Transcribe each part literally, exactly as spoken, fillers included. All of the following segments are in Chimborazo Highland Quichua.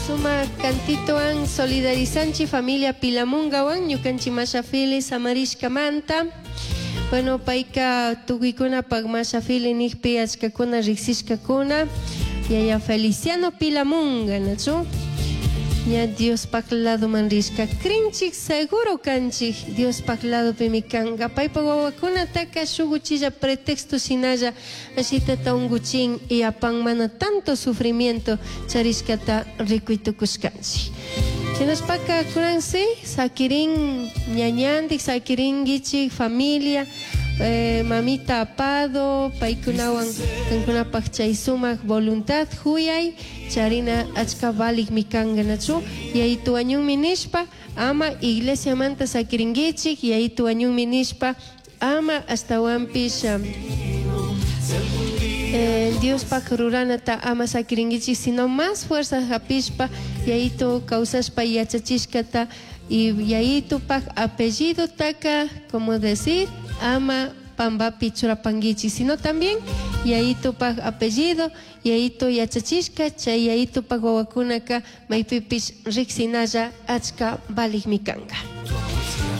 Sumak kantitowan solidarizanchik familia Pilamungawan ñukanchik Masha Fili samarishkamanta. Bueno, payka tukuykunapak Masha Fili nijpi achkakuna riksishkakuna. Yaya Feliciano Pilamunga, nachu? Ña Diospak ladoman rishka. Krinchik seguro kanchik Diospak ladopimi kanka. Paypak wawakunataka shuk uchilla pretexto shinalla ashitata unguchin y apan mana tanto sufrimiento charishkata rikuy tukushkanchik. Shinashpaka kunansi sakirin ñañandik, sakirinkichik familia, eh, mamita apado, paykunawan kankunapak chay sumak voluntad huyay, charina achka valikmi kanka nachu, yayitu wañunmi nishpa, ama iglesiamanta sakirinkichik, yayitu wañunmi nishpa, ama ashtawanpish, um, eh, Diospak ruranata ama sakirinkichik, sino más fuerza hapishpa, yayitu kawsashpa yachachishkata y yayitupak apellido taka, como decir, ama pambapi churapankichik, sino también yayitupak apellido, yayitu yachachishka, chay yayitupak wawakunaka maypipish riksinalla achka valikmi kanka.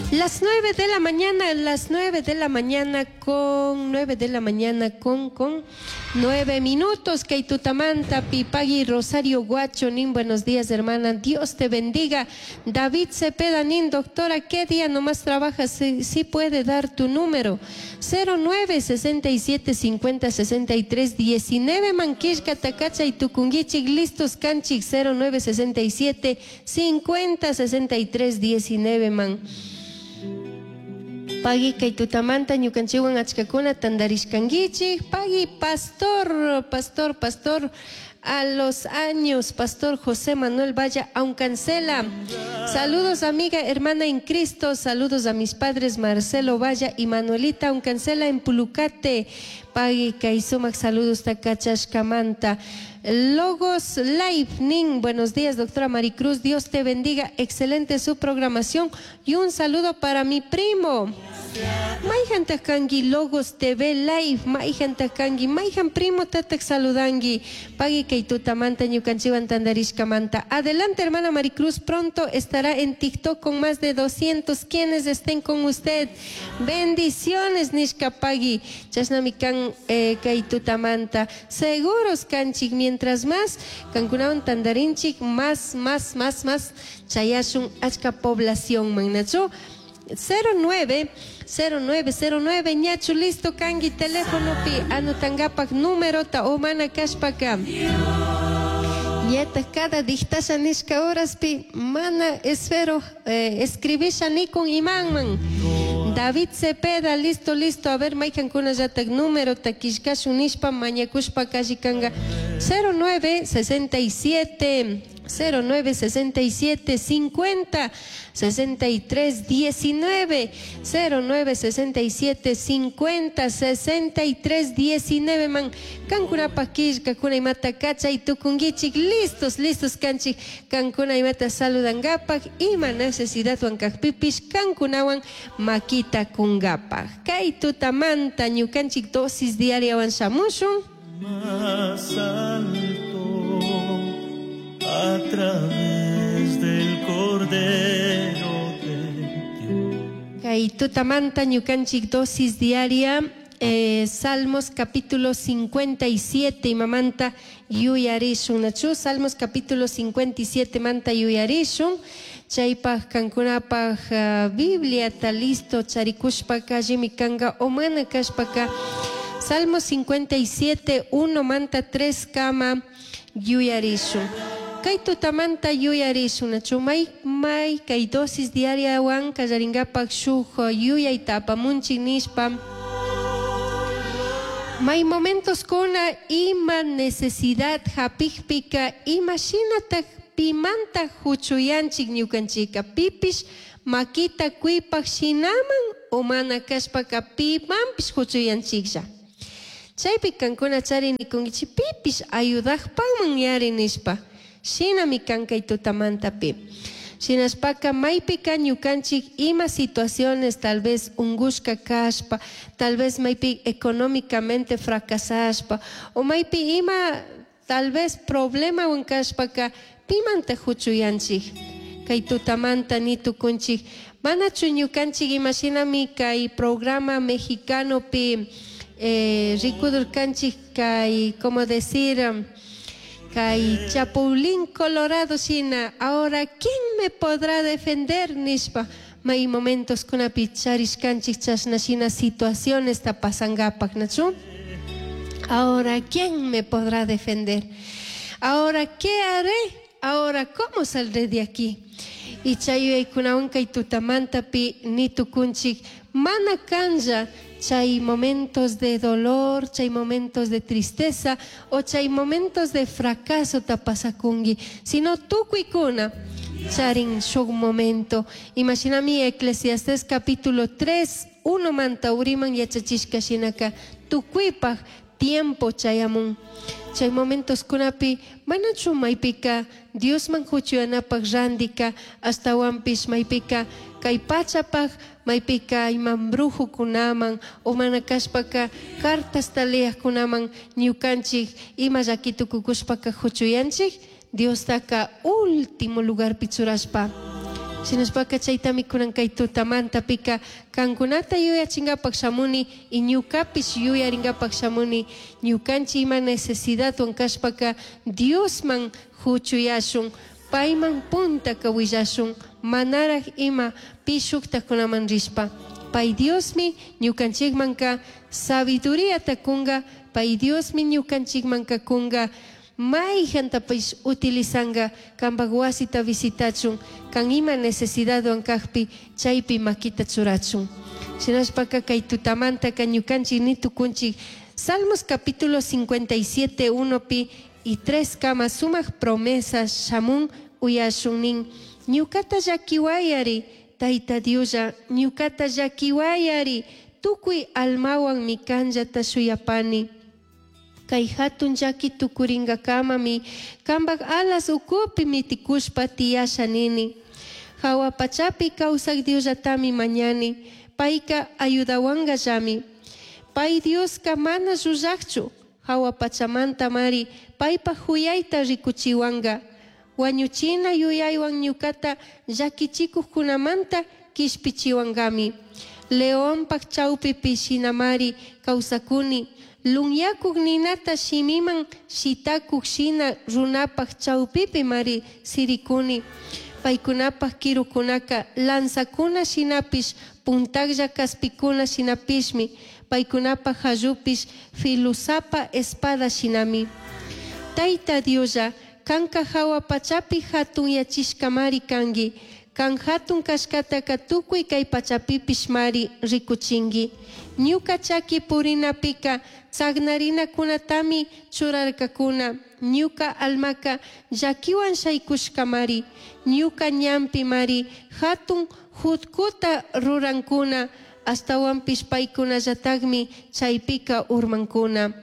Las nueve de la mañana, las nueve de la mañana con nueve de la mañana con, con nueve minutos. Kay tutamanta, Pipagui Rosario Guacho, nin, buenos días, hermana. Dios te bendiga. David Cepeda, nin, doctora, ¿qué día nomás trabajas? Sí, sí puede dar tu número. cero nueve sesenta y siete cincuenta sesenta y tres diecinueve, Manquishka, Takacha y Tucunguichik, listos, canchik, cero nueve sesenta y siete cincuenta sesenta y tres diecinueve, man. Pagui kay tutamanta ñukanchikwan achkakuna tandarishkankichik. Pagui pastor, pastor, pastor, a los años, pastor José Manuel Valla Aucancela. Saludos amiga, hermana en Cristo, saludos a mis padres Marcelo Valla y Manuelita Aucancela en Pulucate. Pagui kay sumak saludos takachashkamanta. Logos Live, nin, buenos días, doctora Maricruz, Dios te bendiga, excelente su programación y un saludo para mi primo. Maijan takangi Logos T V Live, maijan takangi, maijan primo tatak saludangi, pagui kay tutamanta ñukanchiwan tandarishkamanta. Adelante, hermana Maricruz, pronto estará en TikTok con más de doscientos quienes estén con usted. Bendiciones, nishka pagui, chasnamikan, eh, kay tutamanta. Seguros kanchik, mientras más kankunawan tandarinchik, más, más, más, más chayashun achka población, mannachu. cero nueve, cero nueve, cero nueve, ñachu listo kangi teléfono pi anotangapak número ta o mana kashpaka. Ñata cada dictasha nishka horas pi mana espero, eh, escribisha nikun imanman. David Cepeda, listo, listo. A ver, maijan kuna yatak número ta kishkashun nishpa mañakushpa kallikanga. cero nueve sesenta y siete, cero nueve sesenta y siete, cincuenta, sesenta y tres, diecinueve, cero nueve sesenta y siete, cincuenta, sesenta y tres, diecinueve, man. Kankuna pakishka, kuna imata kacha y tukungichik, listos, listos, kanchik, kankuna imata saludangapak, ima necesidad wankakpipish, kankunawan makita kungapak. Kay tutamanta, ñukanchik dosis diaria wan shamushun. Más alto, a través del Cordero de Dios. Kay tutamanta ñukanchik dosis diaria, eh, Salmos capítulo cincuenta y siete, imamanta yuyarishun, nachu, Salmos capítulo cincuenta y siete manta yuyarishun. Chaypaj kankunapaj, eh, Biblia ta listo charikushpaka allimi kanga o mana kashpaka. Salmos cincuenta y siete, uno manta tres kama yuyarishun. Kay tutamanta yuyarishun, nachu, may, may kay dosis diaria wan kallaringapak shuj yuyayta apamunchik nishpa. May momentos kuna ima necesidad hapikpika ima shinatak pimanta huchuyanchik ñukanchika pipish makita kuipak shinaman o mana kashpaka pimanpish huchuyanchiklla. Chaypi kankuna chari nikunkichik pipish ayudakpanman yari nishpa. Shinami kankay tutamanta pi. Shinashpaka maypika ñukanchik ima situaciones tal vez ungushka kashpa, tal vez maypi económicamente fracasashpa, o maypi ima tal vez problemawan kashpaka pimanta huchuyanchik. Kay tutamanta ni tukunchik manachu ñukanchik imashinami kay programa mexicanopi eh, rikudurkanchik kay como decir kay Chapulín Colorado shina, ahora ¿quién me podrá defender? Nishpa may momentos kunapi charishkanchik chashna shina situaciones ta pasangapak, nachu? Ahora ¿quién me podrá defender? Ahora ¿qué haré? Ahora ¿cómo saldré de aquí? Y chay yuyaykunawan kay tutamantapi ni tukunchik mana kanlla chay momentos de dolor, chay momentos de tristeza o chay momentos de fracaso ta pasakungi, sino tukuykuna charin shuk momento. Imashinami Eclesiastés capítulo tres, uno manta uriman yachachishka shinaka tukuypaj tiempo chayamun. Chay momentos kunapi manachu maypika Diosman huchuyanapaj randika astawanpish maypika kay pachapaj maypika iman brujukunaman o mana kashpaka cartasta leyajkunaman ñukanchik ima llakitukukushpaka huchuyanchik Diostaka último lugarpi churashpa. Shinashpaka chaytami kunan kay tutamantapika kankunata yuyachingapak shamuni y ñukapish yuyaringapak shamuni ñukanchik ima necesidadwan kashpaka Diosman huchuyashun payman puntaka willashun manaraj ima pi shuktakunaman rishpa. Pay Diosmi ñukanchikmanka sabiduríata kunga, pay Diosmi ñukanchikmanka kunga mayjantapish utilizanga kanpak wasita visitachun kan ima necesidadwan kajpi chaypi makita churachun. Shinashpaka kay tutamantaka ñukanchik ni tukunchik Salmos capítulo cincuenta y siete, uno pi y tres kama sumak promesas shamun uyashun nin ñukata llakiwayari Tayta Dioslla ñukata llakiwayari tukuy almawanmi kanllata shuyapani. Kay hatun llaki tukurinkakamami kanpak alas ukupi mitikushpa tiyasha nini. Hawa pachapi kawsak Diosllatami mañani payka ayudawankallami. Pay Dioska mana llullakchu hawa pachamanta mari paypak huyayta rikuchiwanka. Wañuchina yuyaywan ñukata llakichikuqkunamanta kishpichiwankami. Leonpak chawpipi shinamari kawsakuni lunyakuq ninata shimiman shitakuq shina runapak chawpipi mari sirikuni. Paykunapak kirukunaka lanzakuna shinapish puntaklla kaspikuna shinapishmi paykunapak hallupish filusapa espada shinami. Tayta Dioslla kanka hawa pachapi hatunyachishkamari kanki kan hatun kashkataka tukuy kay pachapipish mari rikuchinki. Ñuka chaki purinapika tsagnarinakunatami churarkakuna ñuka almaka llakiwan shaykushkamari ñuka ñanpi mari hatun jutkuta rurankuna astawanpish paykunallatakmi chaypika urmankuna.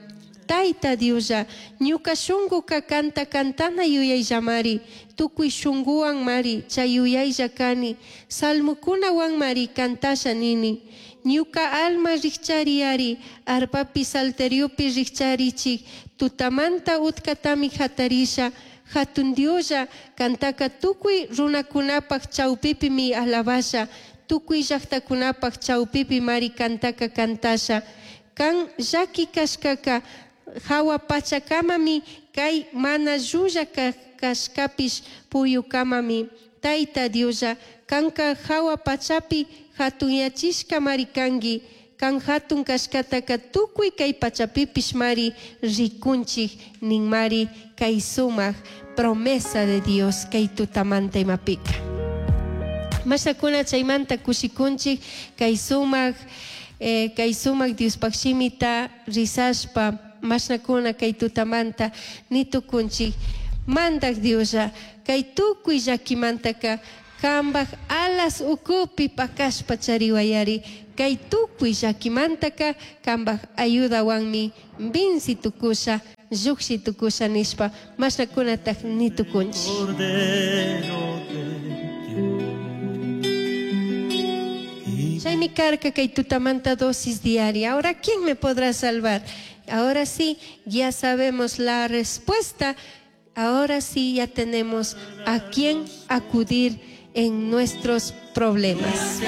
Tayta Dioslla ñuka shunkuka kanta kantana yuyayllamari tukuy shunkuwan mari chay yuyaylla kani salmukunawan mari kantasha nini. Ñuka alma rikchariyari arpapi salteriopi rikcharichik tutamanta utkatami hatarisha hatun Dioslla kantaka tukuy runakunapak chawpipimi alabasha tukuy llaqtakunapak chawpipi mari kantaka kantasha. Kan llaki kashkaka hawa pachakamami kay mana llulla kashkapish puyukamami. Tayta Dioslla kanka hawa pachapi hatunyachishka mari kanki kan hatun kashkataka tukuy kay pachapipish mari rikunchik nin mari kay sumak promesa de Dios kay tutamanta imapika. Mashakuna chaymanta kushikunchik kay sumak eh, kay sumak Diospaq shimita risashpa mashnakuna kay tutamanta ni tukunchik mandak Dioslla kay tukuy llakimantaka kanpak alas ukupi pakashpa chariwayari kay tukuy llakimantaka kanpak ayudawanmi vinci tukusha lluqshi tukusha nishpa mashnakunataj ni tukunchik. Chaymi karka kay tutamanta dosis diaria. Ahora, ¿quién me podrá salvar? Ahora sí, ya sabemos la respuesta. Ahora sí ya tenemos a quién acudir en nuestros problemas.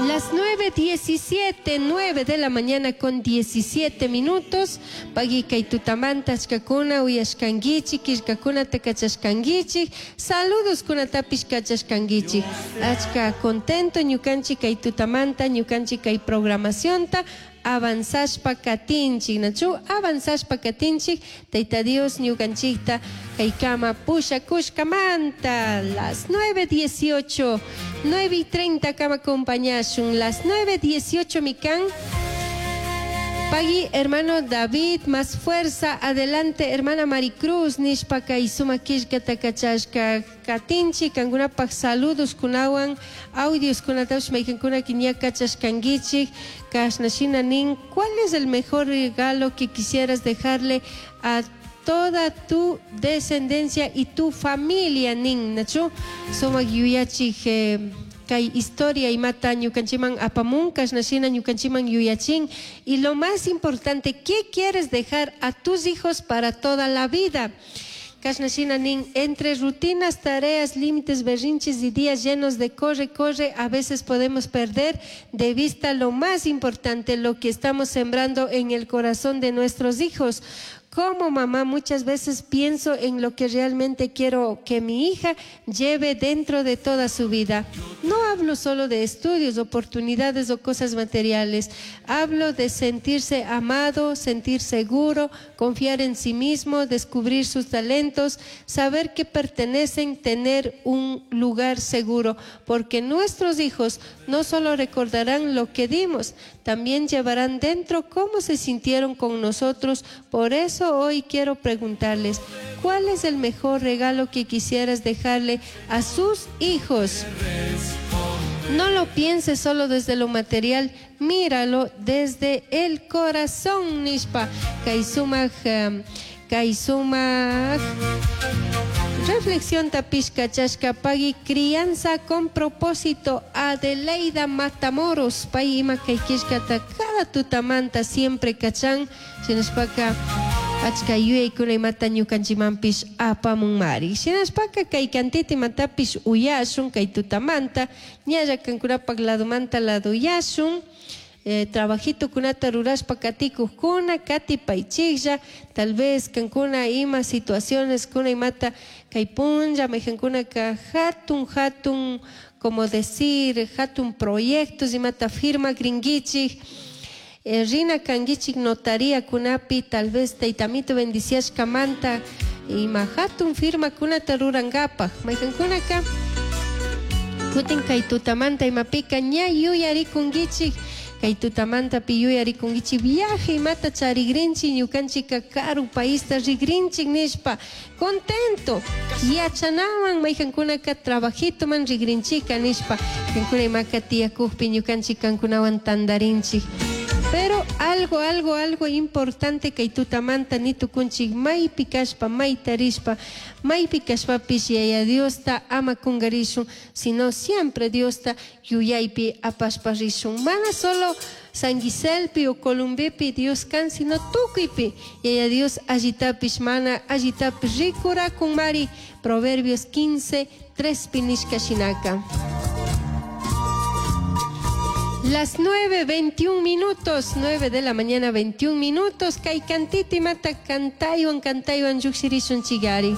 Las nueve diecisiete, nueve de la mañana con diecisiete minutos. Pagui kay tutamanta achkakuna uyashkankichik, killkakunata kachashkankichik, saludos kunatapish kachashkankichik. Achka contento ñukanchik kay tutamanta, ñukanchik kay programacionta avanzashpa katinchik, nachu avanzashpa katinchik, Tayta Dios ñukanchikta kaykama pushakushkamanta. Las nueve dieciocho, nueve y treinta kama acompañashun, las nueve dieciocho mikan. Pagui, hermano David, más fuerza, adelante, hermana Maricruz, nishpa kay suma killkata kachashka katinchi, kankunapaj saludos kunawan, audios kunatapish maykankuna ña kachashkankichik, kashna shina nin, ¿cuál es el mejor regalo que quisieras dejarle a toda tu descendencia y tu familia, nin, nachu? Sumak yuyachik, eh, kay historia imata ñukanchiman apamun, kashna shina ñukanchiman yuyachin. Y lo más importante, ¿qué quieres dejar a tus hijos para toda la vida? Kashna shina nin, entre rutinas, tareas, límites, berrinches y días llenos de corre, corre, a veces podemos perder de vista lo más importante, lo que estamos sembrando en el corazón de nuestros hijos. Como mamá muchas veces pienso en lo que realmente quiero que mi hija lleve dentro de toda su vida. No hablo solo de estudios, oportunidades o cosas materiales. Hablo de sentirse amado, sentir seguro, confiar en sí mismo, descubrir sus talentos, saber que pertenecen, tener un lugar seguro. Porque nuestros hijos no solo recordarán lo que dimos, también llevarán dentro cómo se sintieron con nosotros. Por eso hoy quiero preguntarles, ¿cuál es el mejor regalo que quisieras dejarle a sus hijos? No lo pienses solo desde lo material, míralo desde el corazón, nishpa. Kaisumaj, um, kaisumaj. Reflexión tapishka chashka pagui, crianza con propósito. Adeleida Matamoros, pay ima kay killkata cada tutamanta siempre kachan, shinashpaka achka yuyaykuna imata ñukanchikmanpish apamunmari. Shinashpaka kay kantita imatapish uyashun kay tutamanta, ñalla kankunapak ladomanta laduyashun. Eh, trabajito kunata rurashpa katikujkuna, katipaychiklla, tal vez kankuna ima situaciones kuna imata kay punlla maykankunaka hatun hatun, como decir, hatun proyectos imata firma gringuichik, eh, rina kanguichik notaría kunapi, tal vez taytamito bendiciashkamanta ima hatun firma kunata rurankapaj maykankunaka kutin kay tutamanta imapika ña yuyarikunguichik. Kay tutamanta pi yuyarikunkichik viaje imata charigrinchik ñukanchika karu paista rigrinchik nishpa contento yachanaman maykankunaka trabajitoman rigrinchika nishpa kankuna imaka tiyakukpi ñukanchik kankunawan tandarinchik. Pero algo, algo, algo importante kay tutamanta nitukunchik maypi kashpa, mayta rishpa, maypi kashpapish Yaya Diosta ama kungarishun, sino siempre Diosta yuyaypi apashpa rishun. Mana solo San Giselpi o Columbipi Dios kan, sino tukuypi Yaya Dios allitapish mana allitapish rikurakun mari. Proverbios quince, tres pinishka shinaka. Las nueve veintiún minutos, nueve de la mañana veintiún minutos, kay kantiti mata kantaywan kantaywan llukshirishun chigari.